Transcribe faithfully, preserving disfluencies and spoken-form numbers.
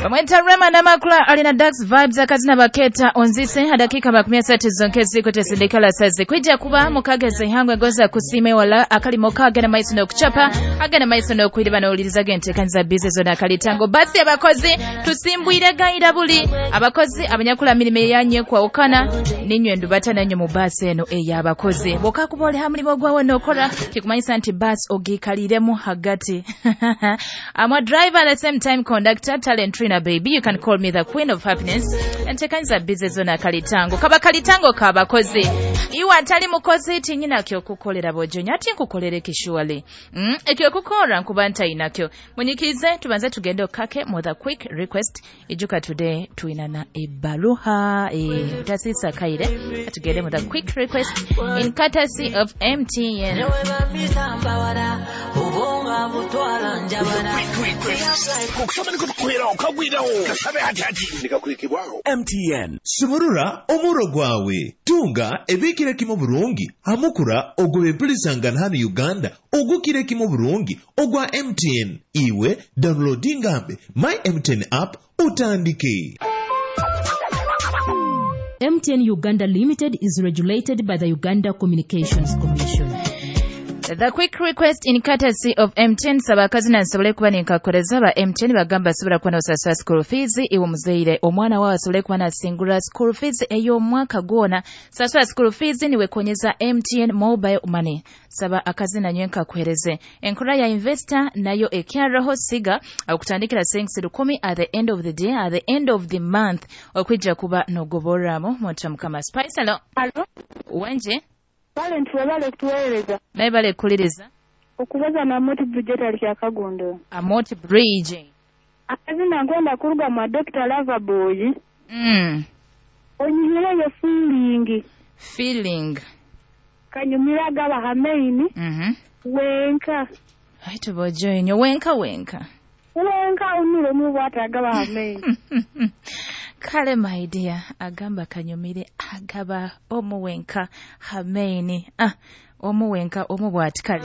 Bamweta Rema Namakula alina Dax Vibes akazina baketa onzise hadakika makumi asatu zonke ziko tesindikala sazi kwijja kuba mukageze ihangwe goza kusime wala akalimo kagena maiso n'okuchapa agena maiso n'okwiriba n'owuliriza genteekaniza bize zona akalitango basi abakozi tusimbwire gayira buli abakozi abanyakula mirimo eyanye kwawukana ninywe ndubata nanyo mu basi eno ey'abakozi bw'okakuba oli ha mulimo gwawe n'okola kikumanyisa nti basi ogiikaliremu hagati. I'm a driver at the same time conductor, talent trainer, baby. You can call me the queen of happiness. Enteekaniza bize zona akalitango kaba kalitango k'abakozi. Iwe atali mukozi tinyina kyokukolera bojonya ati nkukolere kishuali mm, ekyokukora nkuba ntayinakyo munyikirize tubanze tugende okake mu the quick request. Ijuka today tuinana ebbaluha e, utasisa kaire tugende mu the quick request in courtesy of M T N. M T N sumurura omuro gwawe tunga ebikire kimu burungi hamukura ogwebempulisangana hano Uganda ogukire kimu burungi ogwa M T N. Iwe downloadingambe my M T N app utandike. M T N Uganda Limited is regulated by the Uganda Communications Commission. The quick request in courtesy of M T N. Sabakazi na nsobole kuba ninkakoleza ba M T N bagamba asobola kuba n'osasula school fees iwe omuzaire omwana wawe asobole kuba nasingula school fees ey'omwaka gwona. Sasula school fees niwe konyeza M T N mobile money. Saba akazi na nywe nkakuhereze. Enkola ya investor nayo ekyaraho siga okutandikira sensi lukumi at the end of the day, at the end of the month okwijja kuba nogoboramo monta mukama Spice. Hello. Hello. Wenje? Talent webale kutuweereza. Naye bale kuliriza. Okubaza na Amoti Bridge etali kyakagondo. Amoti Bridge. Akazina nkwenda kuruga mwa Doctor Loverboy. Mm. Onyumireyo feeling. Feeling. Kanyumira gaba hamaini. Mhm. Wenka. Ai tubojoinyo wenka wenka. Wenka unure mu bwata gaba hamaini. Kale my dear, agamba kanyumire agaba omu wenka hamaini. Ah, omu wenka omu bwati kale.